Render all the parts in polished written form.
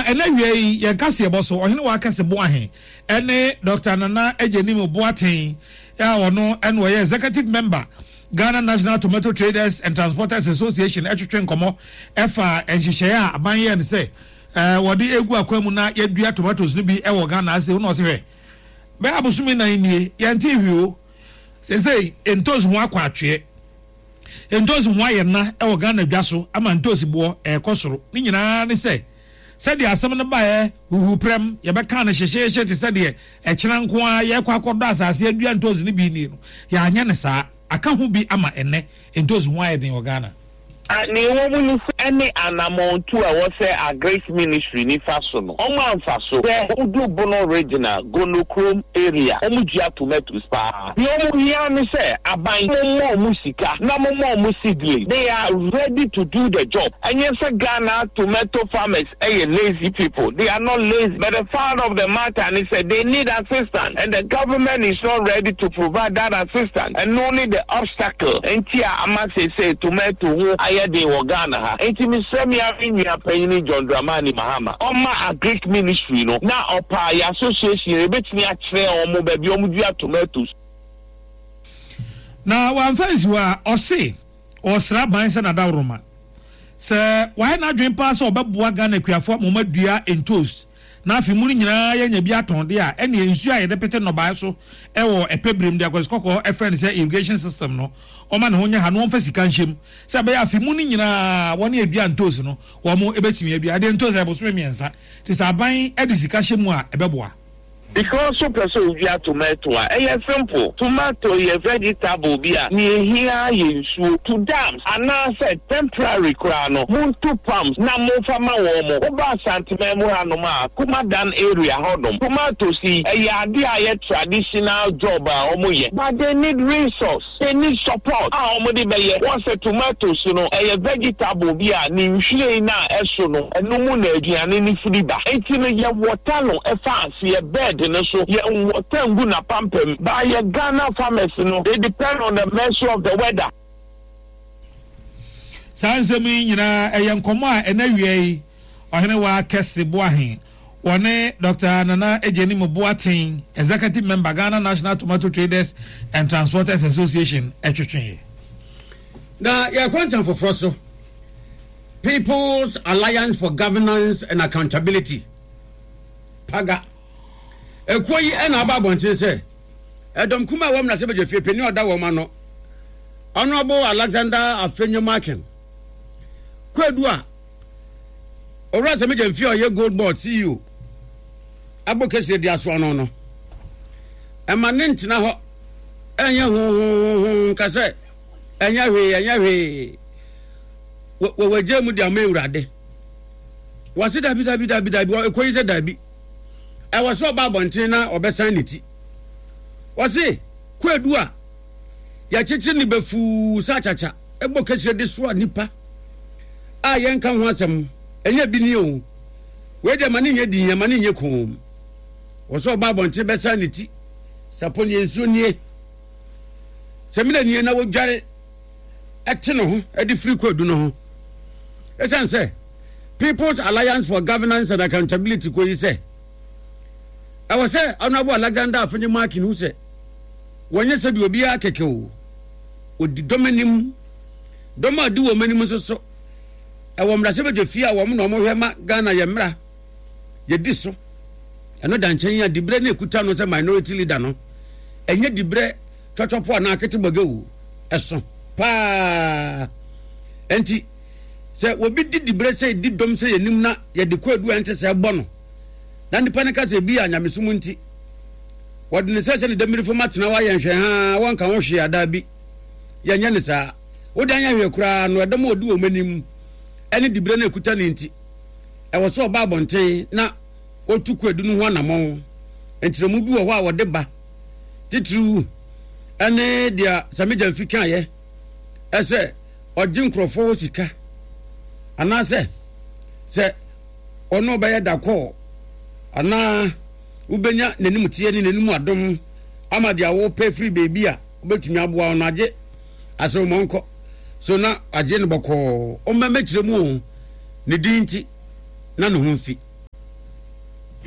ɛnɛ awia yi yɛn kaseɛbɔ so, Ɔhene Wakɛse Boahe ne Dɔkta Nana Agyenim Boateng a ɔno na ɔyɛ Executive Member Ghana National Tomato Traders and Transporters Association twetwe nkɔmmɔ ɛfa nhyehyɛeɛ a aban yɛɛ no sɛ wɔde egu akwan mu na yɛadua tomatoes no bi wɔ Ghana ase. Wona ɔse hwɛ, bɛyɛ abosome nan nie yɛntee hwee o. Seesei ntoos ho akɔ atweɛ. Ntoosi ho ayɛ nã wɔ Ghana dwa so ama ntoosi boɔ rekɔ soro. Ne nyinaa ne sɛ, sɛdeɛ asɛm no baeɛ huhuprɛm, yɛbɛkaa no hyehyeehye te sɛ deɛ ɛkyena nko ara yɛrekɔ akɔdɔ asase adua ntoosi no bi nie no, yɛanyɛ no saa. Aka ho bi ama ɛnnɛ ntoosi ho ayɛ den wɔ Ghana. A Nea ɛwɔ mu ne sɛ, ɛne anamɔntu a ɛwɔ sɛ Agric Ministry no fa so no, wɔn amfa so. Sɛ wodu Bono Regional, Gonokrom area, wɔn dua tomatoes paa. Nea wɔn hia ne sɛ aban mo mma wɔn sika na mo ma wɔn seedling. They are ready to do the job. Ɛnyɛ sɛ Ghana tomato farmers yɛ lazy people, they are not lazy but the fact of the matter ne sɛ they need assistance and the government is not ready to provide that assistance. Ɛno ne the obstacle nti a ama seesei tomato ho ayɛ den wɔ Ghana ha. Nti mesrɛ me ara me nua panyini John Dramani Mahama ɔmma Agric ministry no na ɔpaa yɛ association yɛbɛtumi akyerɛ wɔn baabi a wɔdua tomatoes. Na wamfa ansi hɔ a, ɔse ɔresrɛ aban sɛ n'adaworoma sɛ wayɛ n'adwene paa sɛ ɔbɛboa Ghana akuafoɔ ama wɔadua ntoos na afe mu no nyinaa yɛanya bi atɔn deɛ a, ɛnneɛ nsuo a yɛde pete nnɔbaeɛ so wɔ ɛpɛ berɛ mu, deɛ Kwasi Kɔkɔɔ frɛ no sɛ irrigation system no, ɔmma ne ho nyɛ ha na wɔmfa sika nhyɛ mu sɛ ɛbɛyɛ afe mu no nyinaa wɔn a ɛdua ntoos no wɔn bɛtumi adua. Ɛdeɛ ntoos ɛyɛ bosome mmiɛnsa nti sɛ aban de sika hyɛ mu a ɛbɛboa. Because wo pɛ sɛ odua tomato a, ɛyɛ simple. Tomato yɛ vegetable bi a nea ehia ara yɛ nsuo. To dams anaasɛ temporary koraa no, montu pumps na momfa ma wɔn. Woba Asanteman mu hanom a, Kumadan area hɔnom, tomatoes yi, ɛyɛ adeɛ a ɛyɛ traditional job a wɔyɛ but they need resource. They need support a wɔde bɛyɛ. Wɔn sɛ tomatoes no, ɛyɛ vegetable bi a ne nhwiren no a ɛso no, ɛno mu na aduane no firi ba. Enti no yɛ water no fa aseɛ, bed no so, yɛ nwɔta ngu n'apampam. But yɛ Ghana farmers no, they depend on the mercy of the weather. Saa nsɛm yi nyinaa ɛyɛ nkɔmmɔ a ɛna awia yi Ɔhenewaa Kɛse Boahen wɔne Dɔkta Nana Agyenim Boateng, Executive Member, Ghana National Tomato Traders and Transporters Association twetweeɛ. Na yɛkɔ nsɛm foforɔ so. People's Alliance for Governance and Accountability, PAGA, ekuo yi na aba abɔnten sɛ ɛdɔm kuma a ɛwɔ mmarahyɛbadwafie panin a ɔda wɔn ano, Honourable Alexander Afenyo-Markin, Kwadu a Owura Sammy Gyamfi a ɔyɛ Gold Board CEO abɔ kɛseɛ di asoa no no, ɛma ne ntena hɔ ɛnyɛ hohohoho nka sɛ ɛnyɛ hwee ɛnyɛ hwee wɔwɔgya mu de ama awurade wɔse dabi dabi dabi dabi ɛkɔ yi sɛ dabi ɛwɔ sɛ ɔba abɔnten na ɔbɛsan ne ti wɔse kwaadu a yɛkyekyere ne bɛfuu sɛ akyakya ɛbɔ kɛseɛ de soa nnipa a yɛnka ho asɛm ɛnyɛ bi ni o wei deɛ ma ne nyɛ din ma ne nyɛ koom wɔ sɛ ɔba abɔnten bɛsan ne ti sapɔ nie nsuo nie sɛmina nie na wɔdware ɛte ne ho de firi kwadu no ho ɛsiane sɛ People's Alliance for Governance and Accountability kɔ yi sɛ ɛwɔ sɛ Honorable Alexander Afenye Markin hu sɛ wɔnyɛ sɛdeɛ obiara kɛkɛ o Wɔdi dɔm anim. Dɔm a ɔdi wɔn anim nso so, ɛwɔ mmarahyɛbadwafie a wɔn na wɔhwɛ ma Ghana yɛ mmara yɛdi so. Ɛno da nkyɛn a diberɛ no ɛkuta no sɛ minority leader no, ɛnyɛ diberɛ twɔtwɔpo anaa ketebɔgɛ o, ɛso paa. Enti sɛ obi di diberɛ sɛ di dɔm sɛ yɛnim na yɛde kwaadu a ɛnte sɛ bɔ no, na nipa no ka sɛ bi a nyamesom nti, Wɔde ne nsa hyɛ ne dammiri fam atena hɔ ayɛ nhwɛhaa, wɔnka ho hwee a? Dabi, yɛnyɛ no saa. Wode anyɛ hwee koraa no, ɛdɔm a odi wɔn anim ne diberɛ no a ɛkuta no nti, ɛwɔ sɛ ɔba abɔnten na ɔtu kwaadu no ho anammɔn. Nkyerɛmu bi wɔ hɔ a wɔde ba, titiriw ne deɛ Sami Gyamfi kaeɛ sɛ ɔgye nkurɔfoɔ hɔ sika anaasɛ sɛ ɔne ɔbɛyɛ dakɔɔ anaa wobɛnya n'animteɛ ne n'anim adom ama deɛ wopɛ firi baabi a wobɛtumi aboa wo no agye asɛm ma ɔnkɔ so na agye no bɔkɔɔ ɔmmɛmɛkyerɛ mu o ne din nti na ne ho mfi.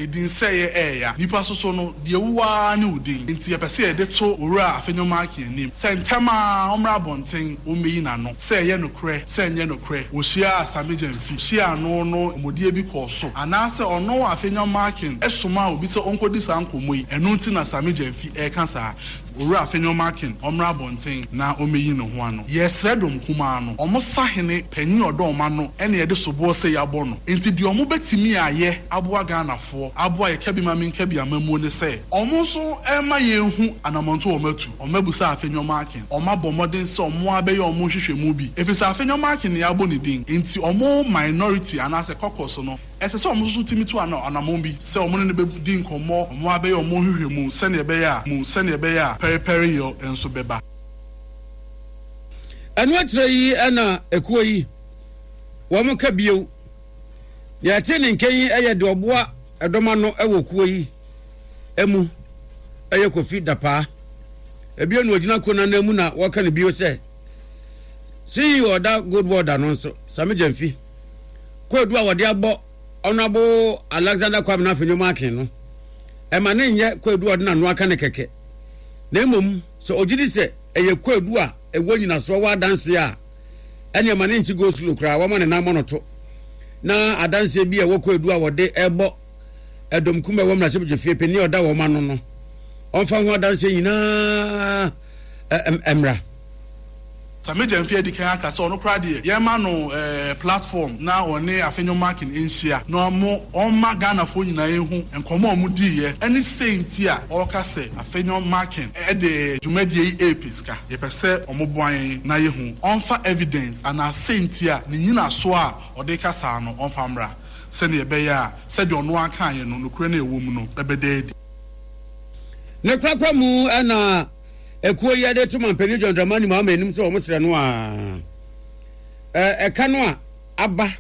Edinsɛeɛ ɛɛya. Nipa soso no, deɛ ɛwu ara ne wo din. Enti yɛpɛ sɛ yɛde to Owura Afenyo-Markin anim sɛ ntɛm ara ɔmmra abɔnten ɔmmɛyi n'ano, sɛ ɛyɛ nokorɛ, sɛ ɛnyɛ nokorɛ, ɔhyiaa Sammy Gyamfi, hyiaa no no nkɔmmɔdie bi kɔɔ so, anaasɛ ɔno Afenyo-Markin somaa obi sɛ ɔnkɔdi saa nkɔmmɔ yi, ɛno nti na Sammy Gyamfi reka saa. Owura Afenyo-Markin ɔmmra abɔnten na ɔmmɛyi ne ho ano. Yɛresrɛ dɔm kumaa no, wɔn sahene panyin a ɔdɔ wɔn ano na yɛde soboɔ sei abɔ no. Enti deɛ wɔn bɛtumi ayɛ aboa Ghanafoɔ, aboa yɛ Kabi-ma-menka-bi amammuo ne sɛ, wɔn nso mma yɛnhu anamɔntuo a wɔn atu. Wɔn abusa Afenyo-Markin, wɔn abɔ mmɔden sɛ wɔn ara bɛyɛ wɔn nhwehwɛmu bi, ɛfiri sɛ Afenyo-Markin na yɛabɔ ne din, enti wɔn minority anaasɛ caucus no, Ɛsɛ sɛ wɔn nso tumi tu anammɔn bi sɛ wɔne no bɛdi nkɔmmɔ, wɔabɛyɛ wɔn nhwehwɛmu sɛnea ɛbɛyɛ a mu sɛnea ɛbɛyɛ a pɛrepɛreyɔ nso bɛba. Ɛno akyire yi na ekuo yi wɔn ka bio. Nea ɛte ne nka yi yɛ deɛ ɔboa ɛdɔm ano wɔ kuo yi mu yɛ Kofi Dapaa. Ebio na ɔgyina kuo no ananmu na wɔka no bio sɛ CEO ɔda Gold Board ano nso, Sami Gyamfi. Kwaadu a wɔde abɔ Honourable Alexander Kwabena Afenyo Markin no, ɛma no nyɛ kwaadu a ɔde n'ano aka no kɛkɛ, na mmom sɛ ɔgye di sɛ ɛyɛ kwaadu a ɛwɔ nnyinasoɔ wɔ adanseɛ a, ɛne ɛma no nkye go slow koraa, wɔma ne nan mmɔ no to. Na adanseɛ bi a ɛwɔ kwaadu a wɔde ɛbɔ ɛdɔm kum a ɛwɔ mmarahyɛbadwafie panin a ɔda wɔn ano no, ɔmfa ho adanseɛ nyinaa mmra. Sammy Gyamfi adi kan aka sɛ ɔno koraa deɛ yɛmma no platform na ɔne Afenyo Markin nhyia na ɔmo ɔmma Ghanafoɔ nyinaa nhu nkɔmmɔ a ɔmo diiɛ ɛne sei nti a ɔreka sɛ Afenyo Markin de dwumadie yi repɛ sika. Yɛpɛ sɛ ɔmo boa yɛn na yɛhu. Ɔmfa evidence anaa sei nti a ne nyinasoɔ a ɔde reka saa no ɔmfa mmra sɛdeɛ ɛbɛyɛ a sɛdeɛ ɔno ara kaeɛ no nokorɛ no a ɛwɔ mu no bɛda adi. Ne korakora mu na Ekuo yi de to Manpanin John Dramani Mahama anim sɛ wɔsrɛ no a ɛka no a aba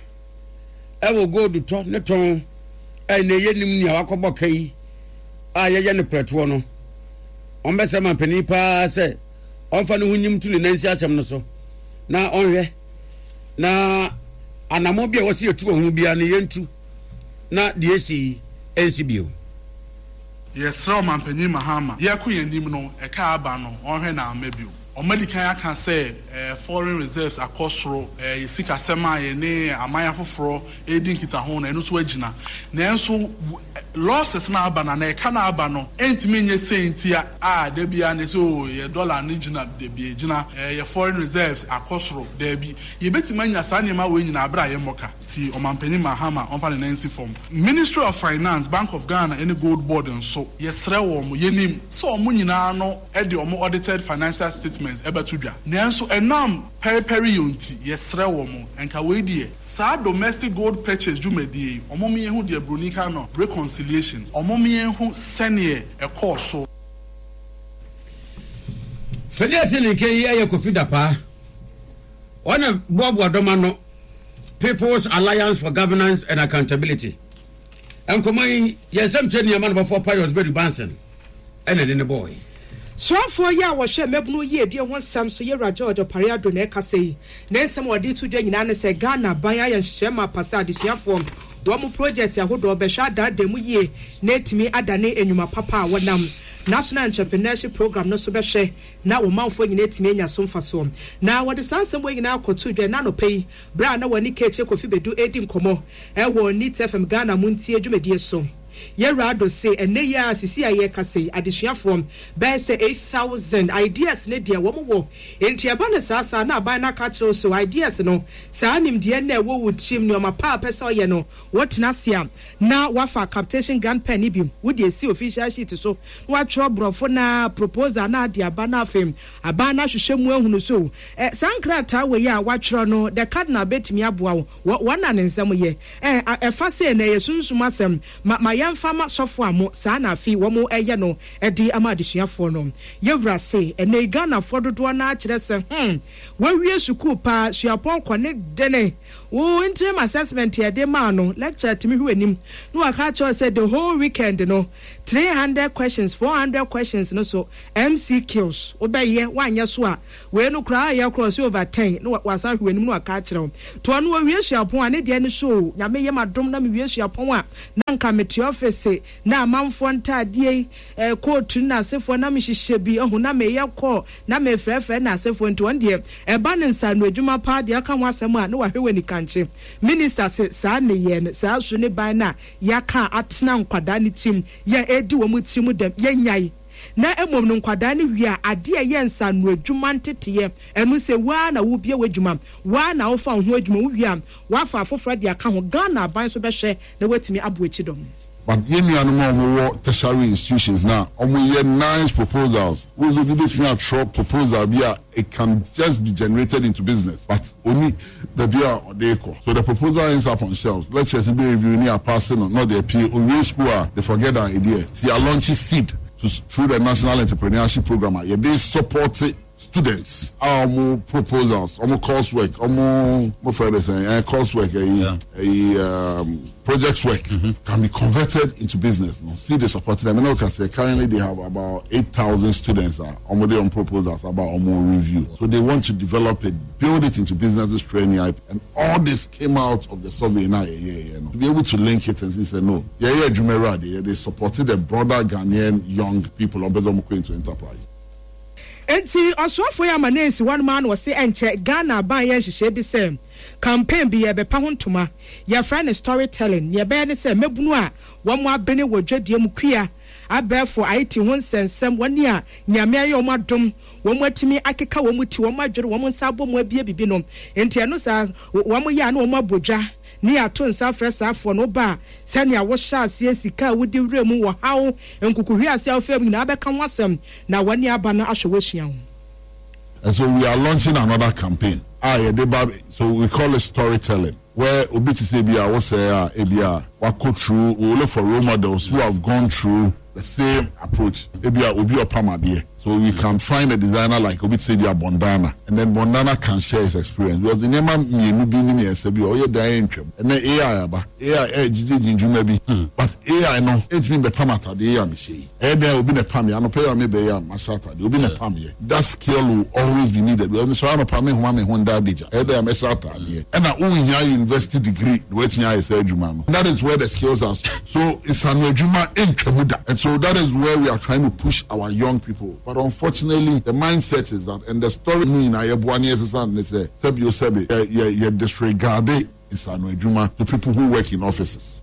wɔ gold tɔ ne tɔn a ɛnɛ yɛnim nea wakɔbɔ ka yi a yɛyɛ no prɛtoɔ no, wɔbɛsrɛ manpanin paa sɛ ɔmfa ne ho nyim to ne nan nsi asɛm no so na ɔnhwɛ na anammɔn bi a wɔsi yɛtu wɔ ho biara no yɛntu na deɛ esi yi ɛnsi bio. Yɛsrɛ Ɔmanpanyin Mahama, yɛkɔ yɛn anim no, ɛka aba no, ɔnhwɛ na amma bio. Wɔadi kan aka sɛ foreign reserves akɔ soro, yɛn sikasɛm a yɛne aman afoforɔ redi nkitaho no, ɛno nso agyina. Nanso losses no a aba no anaa ɛka no a aba no ntumi nyɛ sei nti a da biara no yɛsɛ oh yɛn dollar no gyina, dabi ɛgyina, yɛn foreign reserves akɔ soro, dabi. Yɛbɛtumi anya saa nneɛma wei nyinaa berɛ a yɛmmɔ ka. Nti Ɔmanpanin Mahama ɔmfa ne nan nsi fam. Ministry of Finance, Bank of Ghana ne Gold Board nso, yɛsrɛ wɔn, yɛnim sɛ wɔn nyinaa no de wɔn audited financial statements bɛto dwa, nanso ɛnam pɛrepɛreyɔ nti, yɛsrɛ wɔn, nka wei deɛ, saa domestic gold purchase dwumadie yi, wɔn yɛnhu deɛ broni ka no reconciliation, wɔn yɛnhu sɛdeɛ ɛkɔɔ so. Panin a ɛte ne nka yi yɛ Kofi Dapaah. Ɔna boaboa dɔm ano People's Alliance for Governance and Accountability. Nkɔmmɔ yi, yɛn nsɛm kyerɛ nneɛma no bɔfoɔ Pius Badu Banson ɛna ɛde ne bɔɔe. Soafoɔ yi a wɔhwɛ mmabunu yiedie ho nsɛm so Yewura George Opare Addo na ɛkasa yi. Ne nsɛm a ɔde reto dwa nyinaa ne sɛ Ghana aban ayɛ nhyehyɛɛ mapa sɛ adesuafoɔ wɔn projɛte ahodoɔ bɛhwɛ adaadaa mu yie na atumi adane nnwuma papa a wɔnam National Entrepreneurship Programme no so bɛhwɛ na wɔn manfoɔ nyinaa atumi anya so mfasoɔ. Na wɔde saa nsɛm wei nyinaa kɔtoo dwa ɛnnɛ anɔpa yi berɛ a na wɔne Kate Kofi Badu redi nkɔmmɔ wɔ Neat FM Ghana Montie dwumadie so. Yɛwura Addo se ɛnnɛ yi ara sisi a yɛrekasa yi adesuafoɔ bɛyɛ sɛ 8,000 ideas no deɛ wɔn wɔ enti ɛba no saa saa na aban no aka akyerɛ wo sɛ ideas no saa nimdeɛ no a ɛwɔ wo tirim nnoɔma pa a pɛ sɛ ɔyɛ no Wotena ase a, na woafa captation grant pen no bi, wode asi official sheet so, na woatwerɛ borɔfo no ara proposal no ade aba, na afei aban no ahwehwɛ mu ahunu so ɛ, saa nkrataa wei a woatwerɛ no, the cardinal bɛtumi aboa wo, wɔ, wɔn na ne nsɛm yɛ. Ɛ, a, ɛfa sei no, ɛyɛ sunsum asɛm, ma, ma yɛmfa ma sɔfo a mo, saa na afei wɔn ɛyɛ no de ama adesuafoɔ no. Yɛwura se, ɛnnɛ yi Ghanafoɔ dodoɔ no ara kyerɛ sɛ, hmm, wɔawie sukuu paa, suapɔn kɔ ne dene. Wo interim assessment yɛde maa no, lecturer tumi hwɛ w'anim na waka akyerɛ wo sɛ the whole weekend no, 300 questions, 400 questions no so MCQs wobɛyɛ, woanyɛ so a, wei no koraa ayɛ koraa ɔse over 10 na wasan ahwɛ w'anim na waka akyerɛ wo. Nti ɔno ɔwie suapɔn a, ne deɛ ne so o, Nyame yɛ m'adom na mewie suapɔn a, na nka mete office na amanfoɔ ntaadeɛ yi, eh, coat ne n'asefoɔ na mehyehyɛ bi, ahu, na meyɛ call na mefrɛfrɛ n'asefoɔ nti ɔno deɛ ɛba no nsaano adwuma paa deɛ ɔka ho asɛm a na wahwɛ w'anikankye. Minister se saa nneyɛɛ no, saa su ne ban no a yɛaka a atena nkwadaa no tirim yɛ a ɛredi wɔn tirim dɛm, yɛnnyae. Na mmom no nkwadaa no wie a, adeɛ a ɛyɛ nsaano adwuma nteteeɛ, ɛno sɛ wo ara na wobue w'adwuma, wo ara na wofa wo ho adwuma, wowie a woafa afoforɔ de aka ho, Ghana aban nso bɛhwɛ na watumi aboa kyidɔm. But yɛn nuanom a wɔn wɔ tertiary institutions no a wɔn yɛ nice proposals, wohu sɛ obi bɛtumi atwerɛ proposal bi a it can just be generated into business but ɔnni baabi a ɔde rekɔ so the proposal ends up on shelves, lecturers no bɛ review ne apaase no na ɔde apue, ɔwie school a they forget that idea. Nti yɛ launch seed to through the national entrepreneurship program a yɛde support Students a wɔn proposals, wɔn course work, wɔn mo fɛ de sɛn ɛn course work ɛyi ɛyi um, project work mm -hmm. can be converted into business. No, see the support them. And okay, currently they have about 8,000 students uh, on their own proposals about on review. So they want to develop it, build it into businesses training, and all this came out of the survey now. Yeah, yeah, yeah, no. To be able to link it and say no, yeah, yeah, Jumeirah, they, they supported the broader Ghanaian young people on into enterprise. Enti ɔsoafoɔ yi ama no ansi hɔ nom ara na ɔse ɛnkyɛ Ghana aban yɛ nhyehyɛɛ bi sɛ campaign bi yɛrebɛpa ho ntoma, yɛfrɛ no story telling, nea ɛbɛyɛ ne sɛ mmabunu a wɔn abene wɔ dwadie mu, kua, abɛɛfo, IT ho nsɛnsɛm, wɔn a Nyame ayɛ wɔn adom wɔn atumi akeka wɔn ti, wɔn adwene, wɔn nsa abɔ mu abue biribi no, enti ɛno saa wɔn yɛ a na wɔn abɔ dwa. Ne yɛato nsa afrɛ saa afoɔ no, woba a, sɛnea wohyɛ aseɛ, sika a wode wuraa mu, ɔhaw, nkukuhweaseɛ a wofaa mu nyinaa bɛka ho asɛm, na wɔne aba no ahwɛ wo asua wo. And so we are launching another campaign a yɛde ba so we call it storytelling where obi te sɛ ebi a wosɛe a ebi a wakɔ through we will look for role models who have gone through the same approach ebi a obi ɔpam adeɛ so we can find a designer like obi te sɛ ebi a Bondana and then Bondana can share his experience because nneɛma mmienu bi ne mmiɛnsa bi a ɔyɛ dan ntwam ɛnɛ AI aba AI ɛregyegyegye ndwuma bi but AI no ɛntumi mbɛpam atadeɛ yi a mehyɛ yi. Ɛyɛ dɛn a obi na ɛpam yɛ? Anɔpa yi a meba yi a mahyɛ atade, obi na ɛpam yɛ. That skill will always be needed. Because mesɔre anɔpa me nhoma me ho nda adagya. Ɛyɛ dɛn a mɛhyɛ ataadeɛ? Ɛna wonhia university degree na woatumi ayɛ saa adwuma no. That is where the skills are. So nsano adwuma ntwa mu da. And so that is where we are trying to push our young people. But unfortunately, the mindset is that, and the story no nyinaa yɛboa na yɛsesa no ne sɛ, sɛbi o sɛbi, yɛ yɛ yɛ disregarde nsano adwuma to people who work in offices.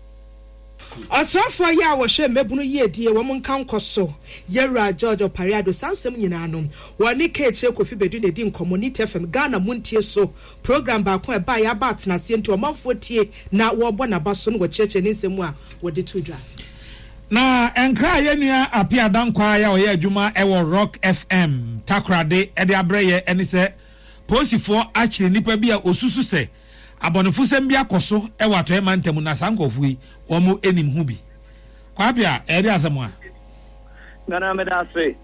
Ɔsrafoɔ yi a wɔhwɛ mmabunu yiedie wɔn nka nkɔ so, Yɛwura George Opare Addo, saa nsɛm nyinaa no, wɔne Kaakyire Kofi Badu na ɛdi nkɔmmɔ, Nit FM, Ghana Montie So program baako a ɛbaeɛ aba atenaseɛ nti ɔmanfoɔ tie na wɔbɔ n'aba so na wɔkyerɛkyerɛ ne nsɛm mu a wɔde to dwa. Na nkra a yɛn nua Appiah Dankwah a ɔyɛ adwuma wɔ Rock FM Takoradi de abrɛ yɛ ne sɛ polisifoɔ akyere nnipa bi a wɔsusu sɛ Abɔnefosɛm bi akɔ so wɔ Atɔeɛ Mantam na saa nkurɔfoɔ yi, wɔn nim ho bi. Kwaa Appiah, ɛyɛ de asɛm a? Nana meda ase.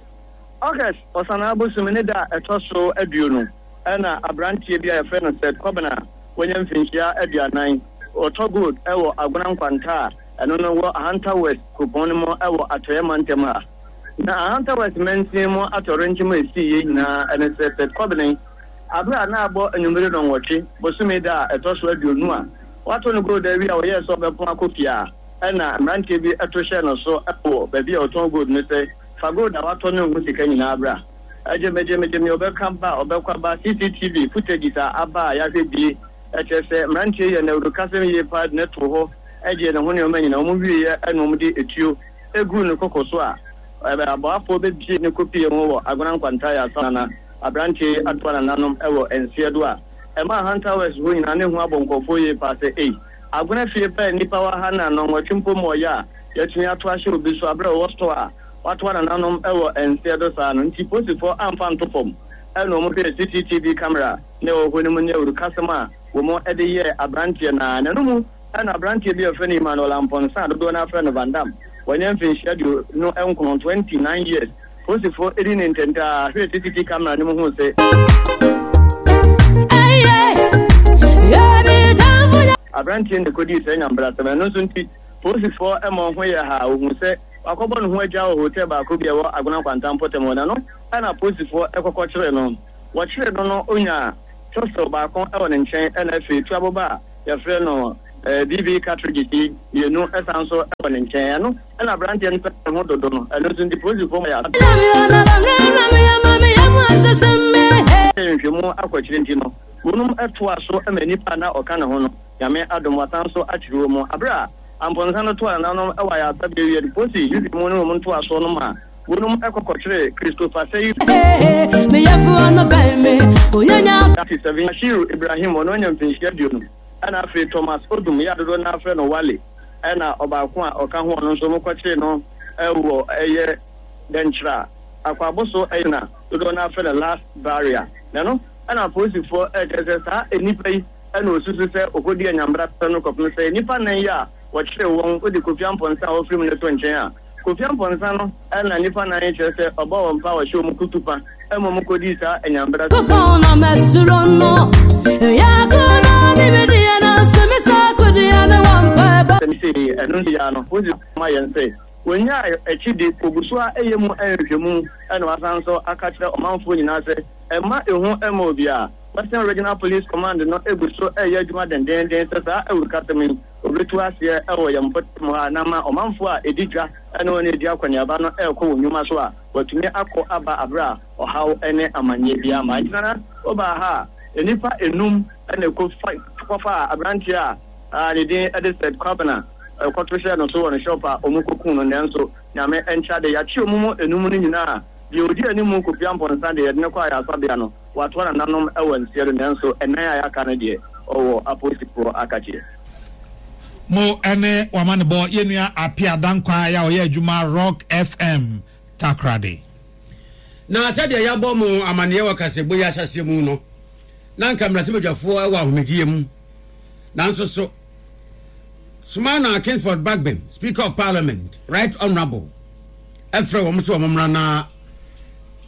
August Ɔsanaa bosome ne da a ɛtɔ so aduonu na abranteɛ bi a yɛfrɛ no Seth Kobena a wanya mfinhyia 40, ɔtɔ gold wɔ Agona Nkwanta a ɛno no wɔ Ahanta West kuropɔn no mu wɔ Atɔeɛ Mantam ha. Na Ahanta West mansin mu atɔwrɛnkyɛm a ɛsiiɛ nyinaa ne sɛ Seth Kobena Bere a na abɔ anwummere nnɔnwɔtwe, bosome da a ɛtɔ so 20 a wɔato no gold awie a ɔyɛɛ sɛ ɔbɛpɔn akɔ fie a, ɛnna mmeranteɛ bi to hyɛɛ no so wɔ baabi a ɔtɔn gold no sɛ, Fa gold a woatɔ no ho sika nyinaa bra. Gyemegyemegyeme, ɔbɛka ba, ɔbɛkɔ aba. CCTV footages a aba a yɛahwɛ bi kyerɛ sɛ mmeranteɛ yi yɛ nnawurukasɛm yie paa de no too hɔ gyee ne ho nneɛma nyinaa. Wɔwieeɛ na wɔde etuo guu ne koko so a aboafoɔ bɛbie ne kɔpie ho wɔ Agona Nkwanta Ayaasa. Aberanteɛ yi atoa nananom wɔ nseɛ do a ɛmaa Hunter West hɔ nyinaa ne ho abɔ nkurɔfoɔ yie paa sɛ ei, Agona fie pɛ nnipa wɔ ha na nnɔnwɔtwe mpo mmɔɔyɛ a yɛatumi ato ahyɛ obi so aberɛ a ɔwɔ store a watoa nananom wɔ nseɛ do saa no nti posifoɔ amfa anto fam ɛna wɔn hwɛɛ CCTV camera na ɛwɔ hɔ no mu ne awurukasɛm a wɔn de yɛɛ aberanteɛ no ara na ɛno mu ɛna aberanteɛ bi a wɔfrɛ no Emmanuel Amponsah a dodoɔ no ara frɛ no Van Damme wanya mfinhyia 29, 29 years. Polisifo dii no ntɛmntɛm ara hwɛɛ CCTV camera no mu huu sɛ. Aberanteɛ yi na ɛkɔdii saa nyambrasɛm. Ɛno nso nti, polisifoɔ ma wɔn ho yɛɛ ha a wɔhuu sɛ wakɔbɔ ne ho adwaa wɔ hotel baako bi a ɛwɔ Agona Nkwanta mpɔtam hɔ. Na ɛno na apolisifoɔ kɔkɔkyeree no. Wɔkyeree no no, ɔnyaa pistol baako wɔ ne nkyɛn ɛna afei tuaboba a yɛfrɛ no BB cartridges yi mmienu san nso wɔ ne nkyɛn. Ɛno na aberanteɛ no pɛ ne ho dodo no. Ɛno nso nti polisifoɔ ma yɛ nhwehwɛmu akɔ akyire nti no, wɔnom toaa so ma nnipa a na ɔka ne ho no, Nyame adom wɔasan nso akyere wɔn. Aberɛ a Amponsah no toaa nananom wɔ ayaresabea wie no, polisi nhwehwɛmu ne wɔn ntoasoɔ no maa Wonom kɔ kɔkyeree Christopher Seidu. 37, Bashiru Ibrahim, ɔno anya mfinhyia 20, ɛna afei Thomas Odum, yɛ a dodoɔ no ara frɛ no Wale, ɛna ɔbaako a ɔka ho ɔno nso wɔkɔkyeree no wɔ ɛyɛ Dɛnkyerɛ Akwaboso ɛyɛ na dodoɔ no ara frɛ no Last Barrier. Na ɛno ɛna apolisifoɔ ɛkyerɛ sɛ saa nnipa yi ɛna wɔsusu sɛ wɔkɔdi anyambra no kɔpem sɛ nnipa nnan yi a wɔkyeree wɔn wode Kofi Amponsah a ɔfiri mu no to nkyɛn a, Kofi Amponsah no na nnipa nan kyerɛ sɛ ɔbɔɔ wɔn paa ɔhyɛɛ wɔn kutupa ma wɔn kɔdii saa anyambra Sɛm sei, ɛno nti yaa no, wosi ma yɛn sɛ wɔnyaa akyidi, wɔgu so ara yɛ mu nhwehwɛmu na wɔasan nso aka kyerɛ ɔmanfoɔ nyinaa sɛ mma ehu mma obiara. Western Regional Police Command no gu so reyɛ adwuma dendeenden sɛ saa awurukasɛm yi Obetu aseɛ wɔ yɛn mpɔtam ha na ama ɔmanfoɔ a ɛdi dwa ne wɔn a ɛdi akɔneaba no rekɔ wɔn nnwuma so a, wɔatumi akɔ aba aberɛ a ɔhaw ne amanneɛ biara mma. Enti Nana, wobaa ha a, nnipa nnum na ɛkɔfaa aberanteɛ a ne din de Seth Kwabena kɔto hyɛɛ no so wɔ ne shop a wɔkɔkuu no. Nanso Nyame nkyɛ ade, yɛakye wɔn mu nnum no nyinaa. Deɛ ɔdi anim, Kofi Amponsah deɛ, yɛde no kɔɔ ayaresabea no, Watoa nananom wɔ nseɛ do nanso ɛnan a yɛaka no deɛ ɔwɔ apolisifoɔ akakyeɛ. Mo ne w'amanebɔ yɛ nua Appiah Dankwah a ɔyɛ adwuma Rock FM Takoradi. Na sɛdeɛ yɛabɔ mo amaneɛ wɔ kaseɛbɔ yi ahyɛaseɛ mu no, na anka mmarahyɛbadwafoɔ wɔ ahomegyeɛ mu. Nanso so Sumana Kingsford Bagbin, Speaker of Parliament, Right Honourable, frɛ wɔn sɛ wɔn mmra na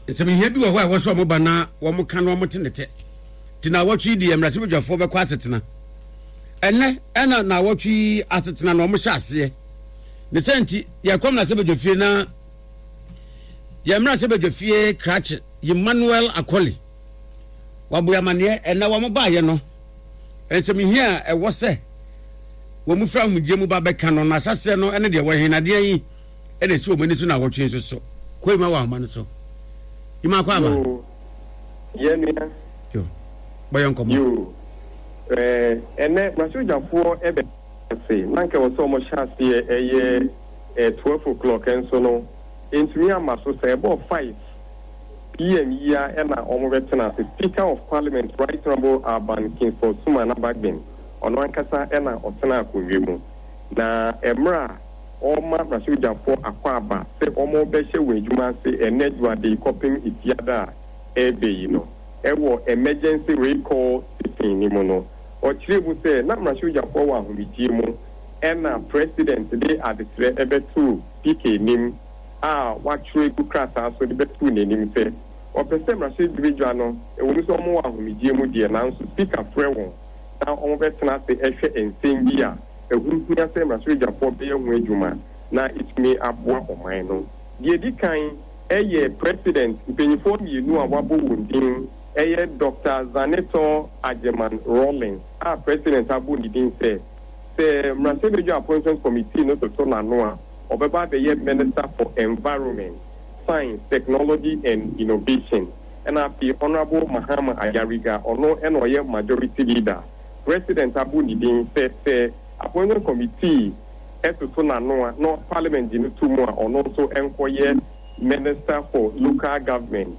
Nsɛm hia bi wɔ hɔ a ɛwɔ sɛ wɔba na wɔka na wɔte ne tɛ. Nti naawɔtwe yi deɛ mmarahyɛbadwafoɔ bɛkɔ asetena. Ɛnɛ ɛna naawɔtwe yi asetena na wɔhyɛ aseɛ. Ne sɛ nti yɛkɔ mmarahyɛbadwafie na yɛn mmarahyɛbadwafie krakye Emmanuel Akoli waboe amaneɛ ɛnɛ wɔn baayɛ no nsɛm hia a ɛwɔ sɛ wɔn fira ahomegyeɛ mu ba bɛka no na ahyɛseɛ no ɛne deɛ wɔhe nadeɛ yi ɛna esi wɔn ani so naawɔtwe nso so. Kɔ Ima wɔ ahoma no so. Ima akɔ aba. Yoo, yɛ nua. Yo, bɔ yɛn nkɔmɔ. Yoo, ɛɛ ɛnɛ m'asogyafoɔ ɛbɛ ase na nka ɛwɔ sɛ wɔn hyɛ aseɛ ɛyɛ ɛɛ 12 o'clock ɛnso no ɛntumi amma so sɛ ɛbɔɔ 5 PM yi ara ɛna wɔn bɛ tena ase. Speaker of Parliament Right Honourable Alban Kingsford Sumana Bagbin ɔno ankasa ɛna ɔtena akonnwa mu na ɛmmerɛ a ɔrema mmarahyɛbadwafoɔ akwaaba sɛ wɔrebɛhyɛ wɔn adwuma ase ɛnnɛ Dwoada yi kɔpem Efiada a ɛreba yi no wɔ Emergency Recall Sitting no mu no, ɔkyerɛɛ mu sɛ na mmarahyɛbadwafoɔ wɔ ahomegyeɛ mu ɛna President de adesrɛ bɛtoo Speaker anim a watwerɛ agu krataa so de bɛtoo n'anim sɛ ɔpɛ sɛ mmarahyɛbadwa no, ɛwɔ mu sɛ wɔwɔ ahomegyeɛ mu deɛ nanso Speaker frɛ wɔn na wɔbɛtena ase hwɛ nsɛm bi a ɛho hia sɛ mmarahyɛbadwafoɔ bɛyɛ ho adwuma na ɛtumi aboa ɔman no. Deɛ ɛdi kan yɛ President mpaninfoɔ mmienu a wɔabɔ wɔn din yɛ Dɔkta Zanetor Agyeman Rawlings a President abɔ ne din sɛ, sɛ Mmarahyɛbadwa Appointment Committee no toto n'ano a, ɔbɛba abɛyɛ Minister for Environment, Science, Technology and Innovation ɛna afei Honourable Mahama Ayariga, ɔno na ɔyɛ Majority Leader. President abɔ ne din sɛ sɛ Appointment Committee toto n'ano a na Parliament gye no to mu a ɔno nso nkɔyɛ Minister for Local Government,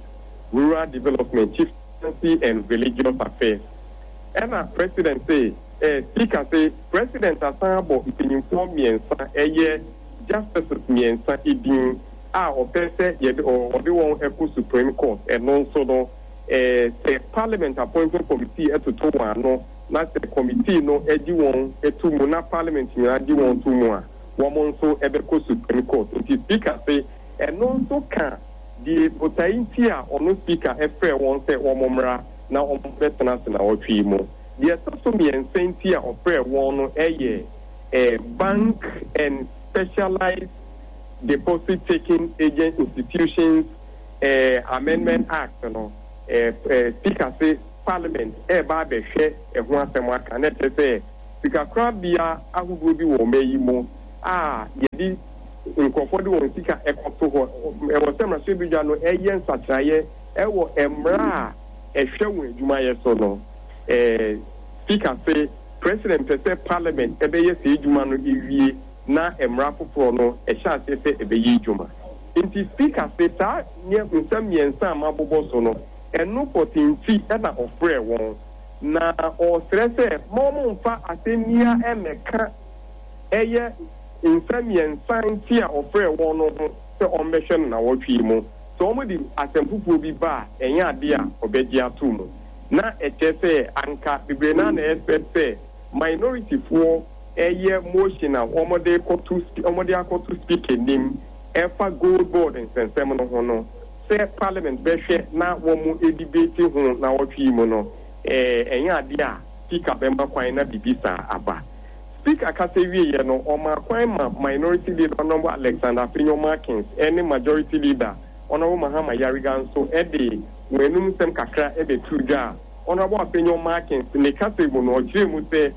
Rural Development, Chieftaincy and Religious Affairs. Ɛna President se, eh, Speaker se President asan abɔ mpanyimfoɔ mmiɛnsa ɛyɛ Justices mmiɛnsa din a ɔpɛ sɛ yɛde ɔde wɔn kɔ Supreme Court, ɛno nso no Sɛ Parliament Appointment Committee toto wɔn ano na sɛ committee no gye wɔn to mu na Parliament nyinaa gye wɔn to mu a, wɔn nso bɛkɔ Supreme Court. Nti Speaker se ɛno nso ka deɛ botae nti a ɔno Speaker frɛɛ wɔn sɛ wɔn mmra na wɔn bɛtena ase nawɔtwe yi mu. Deɛ ɛtɔ so mmiɛnsa nti a ɔfrɛɛ wɔn no yɛ Bank and Specialized Deposit Taking Agent Institutions Amendment Act no. Speaker se Parliament reba abɛhwɛ ɛho asɛm aka, na ɛkyerɛ sɛ sikakorabea ahodoɔ bi wɔ ɔman yi mu a yɛde nkurɔfoɔ de wɔn sika kɔto hɔ. Ɛwɔ sɛ mmarahyɛbadwa no yɛ nsakyeraeɛ wɔ mmara a ɛhwɛ wɔn adwumayɛ so no. Speaker se President pɛ sɛ Parliament bɛyɛ saa adwuma no wie na mmara foforɔ no hyɛ aseɛ sɛ ɛbɛyɛ adwuma. Nti Speaker se saa nsɛm mmiɛnsa a mabobɔ so no, ɛno pɔtee nti na ɔfrɛɛ wɔn. Na ɔresrɛ sɛ mma wɔmmfa asɛnnua mmɛka ɛyɛ nsɛm mmiɛnsa nti a ɔfrɛɛ wɔn no ho sɛ wɔmmɛhwɛ no nnawɔtwe yi mu. Sɛ wɔde asɛm foforɔ bi ba a, ɛnyɛ adeɛ a ɔbɛgye ato mu. Na ɛkyerɛ sɛ anka bebree no ara na expect sɛ minority foɔ ɛyɛ motion a wɔde rekɔto wɔde akɔto speaker anim ɛfa gold board nsɛnsɛm no ho no sɛ parliament bɛhwɛ na wɔn debate ho nawɔtwe yi mu no ɛnyɛ adeɛ a speaker bɛma kwan na biribi saa aba. Speaker kasa wieɛ no ɔmaa kwan ma minority leader Honourable Alexander Afenyo Markins ne majority leader Honourable Mahama Yariga nso de wɔn anum nsɛm kakra bɛtoo dwa a Honourable Afenyo Markins ne kasa mu no ɔkyerɛɛ mu sɛ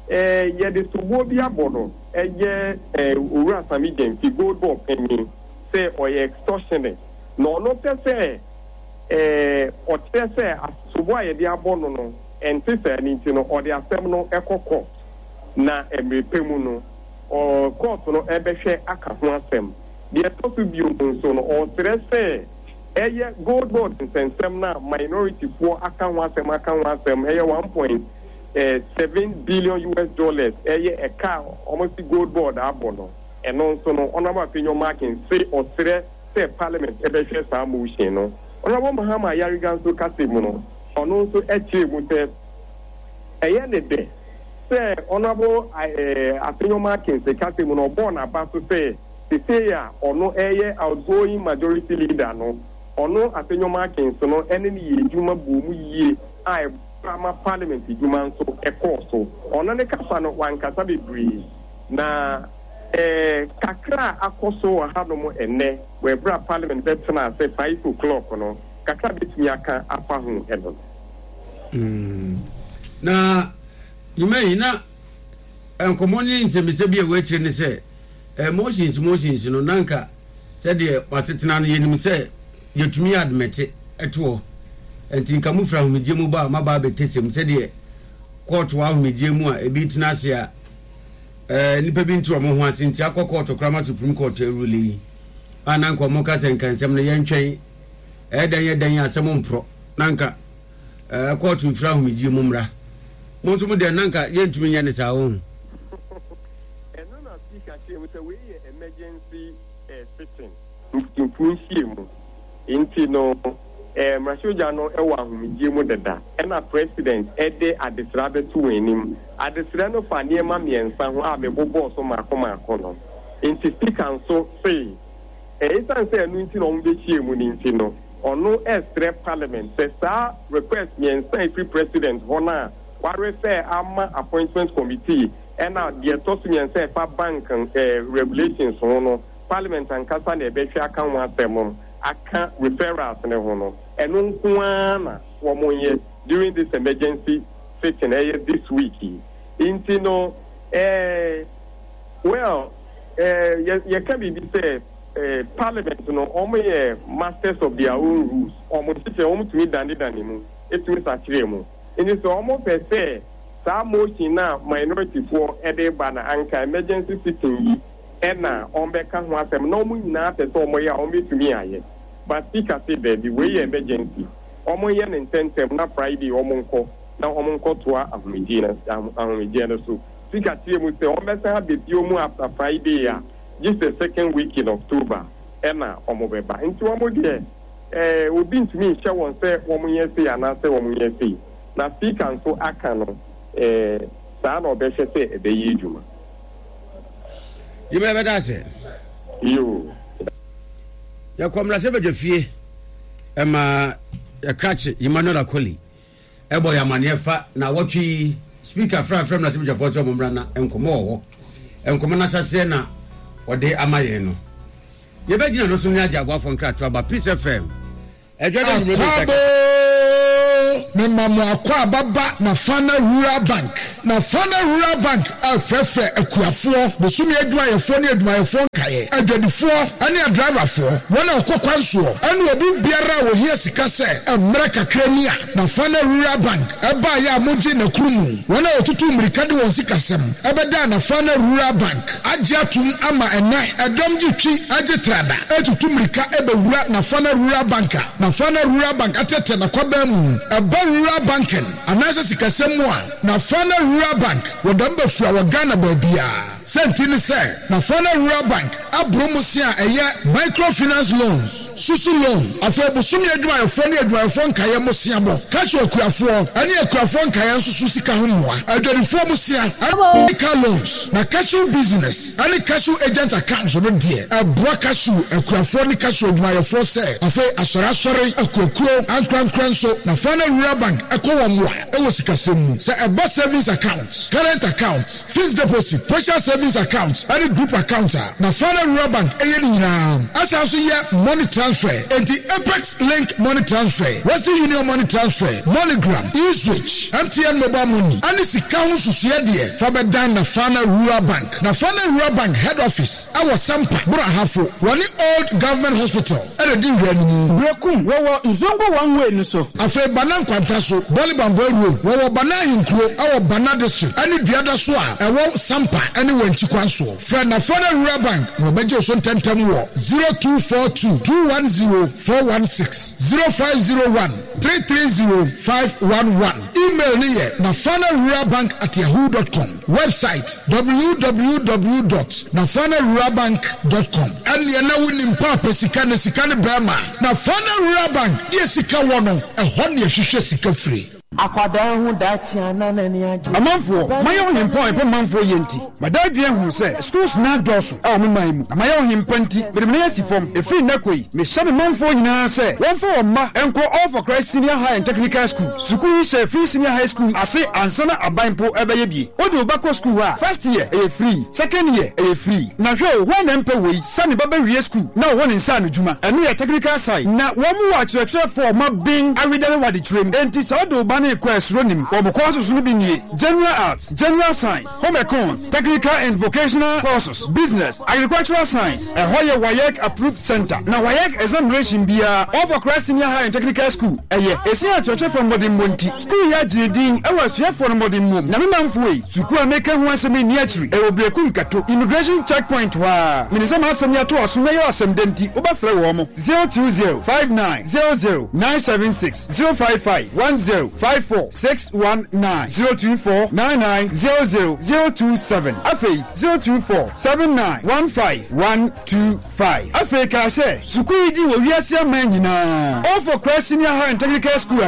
yɛde soboɔ bi abɔ no ɛyɛ Owura Sammy Gyamfi, Gold Board panyin, sɛ ɔyɛ extortionist na ɔno pɛ sɛ ɔkyerɛ sɛ soboɔ a yɛde abɔ no no ɛnte saa no nti no ɔde asɛm no kɔ court na mmerɛ pɛ mu no court no bɛhwɛ aka ho asɛm. Deɛ ɛtɔ so bio nso no ɔsrɛ sɛ ɛyɛ Gold Board nsɛnsɛm no a minority foɔ aka ho asɛm aka ho asɛm ɛyɛ 1.7 billion US dollars ɛyɛ ɛka a wɔn se Gold Board abɔ no ɛno nso no Honourable Afenyo Markin se ɔsrɛ sɛ parliament bɛhwɛ saa motion no. Honourable Mahama Ayariga nso kasa mu no ɔno nso kyerɛɛ mu sɛ ɛyɛ ne dɛ sɛ Honourable Afenyo Markins kasa mu no ɔbɔɔ n'aba so sɛ sesei a ɔno reyɛ outgoing majority leader no ɔno Afenyo Markins no ne no yɛ adwuma bɔɔ mu yie a ɛboa ma parliament adwuma nso kɔɔ so. Ɔno ne kasa no wankasa bebree na kakra a akɔ so wɔ hanom ɛnnɛ wɔ ɛberɛ a parliament bɛtena ase 5 o'clock no kakra bɛtumi aka afa ho ɛno no. Na nnwuma yi na nkɔmmɔ ne nsɛmmisa bi a ɛwɔ akyire ne sɛ motions motions no na nka sɛdeɛ wasetena no yɛnim sɛ yɛtumi admete ɛtoɔ nti nka mofiri ahomegyeɛ mu ba a maba abɛtɛsɛm sɛdeɛ kɔɔto wɔ ahomegyeɛ mu a ebi tena ase a nnipa bi nte wɔn ho ase nti akɔ kɔɔto koraa ma Supreme Court arule yi a na nka wɔn ka sɛ nka nsɛm no yɛntwɛn ɛyɛ dɛn yɛ dɛn asɛm mporɔ na nka kɔɔto mfiri ahomegyeɛ mu mmra. Mo nso mo deɛ na nka yɛntumi nyɛ ne saa wɔn. Ɛno na Speaker kyerɛɛ mu sɛ wei yɛ emergency sitting, mputumpuo nhyiamu, nti no mmarahyɛbadwa no wɔ ahomegyeɛ mu deda ɛna President de adesrɛ abɛto wɔn anim. Adesrɛ no fa nneɛma mmiɛnsa ho a mebobɔɔ so mmaako mmaako no. Nti Speaker nso see esiane sɛ ɛno nti na wɔbɛhyiaa mu no nti no, ɔno resrɛ Parliament sɛ saa request mmiɛnsa a ɛfiri President hɔ no a wɔarefer ama Appointment Committee ɛna deɛ ɛtɔ so mmiɛnsa a ɛfa bank regulations ho no, Parliament ankasa na ɛbɛhwɛ aka ho asɛm aka referrals no ho no, ɛno nko ara na wɔnyɛ during this emergency sitting ɛyɛ this week yi. Nti no eh, well eh, yɛka biribi sɛ Parliament no wɔn yɛ masters of their own rules, wɔn nhyehyɛ wɔn tumi danedane mu, ɛtumi sakyerɛ mu. Nti sɛ wɔn pɛ sɛ saa motion no a minority foɔ de ba no anka emergency sitting yi ɛna wɔn bɛka ho asɛm na wɔn nyinaa pɛ sɛ wɔn yɛ a wɔn bɛtumi ayɛ. But Speaker se daabi, wei yɛ emergency, wɔn nyɛ no ntɛntɛm na Friday wɔn nkɔ na wɔn nkɔtoa ahomegyeɛ no so. Speaker kyerɛɛ mu sɛ wɔn bɛsan aba bio mu after Friday a gye sɛ second week in October ɛna wɔn bɛba. Nti wɔn deɛ obi ntumi nhyɛ wɔn sɛ wɔn nyɛ sei anaasɛ wɔn nyɛ sei. Na Speaker nso aka no saa na ɔbɛhwɛ sɛ ɛbɛyɛ adwuma. Yima yɛbɛda ase. Yoo. Yɛkɔ mmarahyɛbadwa fie ɛma yɛkrakye Emmanuel Akoli. Ɛbɔ yɛn amaneɛ fa naawɔtwe yi speaker frɛ afrɛ mmarahyɛbadwafoɔ sɛ wɔn mmra na nkɔmmɔ wɔ hɔ. Nkɔmmɔ no ahyɛaseɛ na ɔde ama yɛn no. Yɛbɛgyina no so ne agye aboafoɔ nkratoɔ aba Peace FM. Ɛdwa dɛ nwummerɛ bi nsa Akwaaba oo, mema mo akwaaba ba Nafana Rural Bank. Nafana Rural Bank refrɛfrɛ akuafoɔ, bosome adwumayɛfoɔ ne adwumayɛfoɔ nkaeɛ, adwadifoɔ ne adriverfoɔ, wɔn a wɔkɔ kwan soɔ ne obi biara a ɔhia sika sɛ mmerɛ kakra ni a Nafana Rural Bank baeɛ a mogye n'akuru mu. Wɔn a wɔtutu mmirika de wɔn sikasɛm bɛdaa Nafana Rural Bank agye atom ama ɛnnɛ ɛdɔm gye twi gye trada retutu mmirika bɛwura Nafana Rural Bank a Nafana Rural Bank atrɛtrɛ n'akwaban mu. Ɛba rural banking anaasɛ sikasɛm mu a, Nafana Rural Bank wɔ dɛm bafua wɔ Ghana baabiara. Sɛnti ne sɛ Nafana Rural Bank aboro mmosea a ɛyɛ microfinance loans, susu loan, afei bosome adwumayɛfoɔ ne adwumayɛfoɔ nkaeɛ mmosea bɔ, cashew akuafoɔ ne akuafoɔ nkaeɛ nso so sika ho mmoa, adwadifoɔ mmosea ne car loans, na cashew business ne cashew agent accounts no deɛ ɛboa cashew akuafoɔ ne cashew adwumayɛfoɔ sɛ afei asɔre asɔre, akuakuo, ankorankorɛ nso Nafana Rural Bank kɔ wɔn mmoa wɔ sikasɛm mu sɛ ɛba savings account, current account, Fixed deposit, partial savings account ne group account a Nafana Rural Bank yɛ ne nyinaa. Ɛsan nso yɛ money transfer. Enti Apex Link Money Transfer, Western Union Money Transfer, MoneyGram, eSwitch, MTN Mobile Money ne sika ho nsusuiɛ deɛ fa bɛdan Nafana Rural Bank. Nafana Rural Bank head office wɔ Sampa, Boro Ahafo. Wɔne Old Government Hospital na ɛdi nhwɛanimu. Berekum, wɔwɔ Nzongo one way no so. Afei Bana Nkwanta so, Bɔle Bamboe Road, wɔwɔ Bana Ahenkuro wɔ Bana District ne Duada so a ɛwɔ Sampa ne Wankyi kwan soɔ. Frɛ Nafana Rural Bank na wɔbɛgye wo so ntɛmntɛm wɔ 0242 210 416, 0501 330 511. Email no yɛ nafanaruralbank at yahoo dot com. Website, www dot nafanaruralbank dot com. Ɛnneɛ na wonim paapa sika ne sika ne bɛɛma. Nafana Rural Bank deɛ sika wɔ no, ɛhɔ ne yɛhwehwɛ sika firi. Akwadaa ho daakye a na n'ani agye. Ɔmanfoɔ, mayɛ ɔhempɔn a ɛpɛ manfoɔ yie nti, mada adwene ahunu sɛ schools no adɔɔso wɔ me man mu, na mayɛ ɔhempa nti, mede me nan asi fam. Ɛfiri nnɛ kɔ yi, mehyɛ me manfoɔ nyinaa sɛ wɔmfa wɔn mma nkɔ All for Christ Senior High and Technical School. Sukuu yi hyɛ Free Senior High School ase ansa na aban mpo rebɛyɛ bie. Wode wo ba kɔ sukuu hɔ a, first year ɛyɛ free, second year ɛyɛ free. Na hwɛ o, hwan na ɛmpɛ wei sɛ ne ba bɛwie sukuu na ɔwɔ ne nsa ano dwuma? Ɛno yɛ technical side. Na wɔn wɔ akyerɛkyerɛfoɔ a wɔaben awedare wɔ adekyerɛ mu. Enti sɛ wode wo ba no rekɔ a suro nnim. Wɔn courses no bi nie, General Arts, General Science, Home Econs, Technical and Vocational Courses, Business, Agricultural Science. Ɛhɔ yɛ WAEC approved centre, na WAEC examination biara All for Christ Senior High and Technical School ɛyɛ. Ɛsiane akyerɛkyerɛfoɔ mmɔdemmɔ nti, sukuu yi agye ne din wɔ asuafoɔ no mmɔdemmɔ mu. Nyame manfoɔ ei, sukuu a meka ho asɛm yi nni akyiri. Ɛwɔ Berekum Kato, Immigration Check Point hɔ ara. Menim sɛ m'asɛm yi ato w'asom na ɛyɛ wo asɛm dɛ nti, wobɛfrɛ wɔn, 020 59 00 976. 055 10 54 619 024 99 00 027 Afei 024 79 15 125 Afei kaa sɛ, Sukuu yi din wɔ wiase aman nyinaa, All for Christ Senior High and Technical School.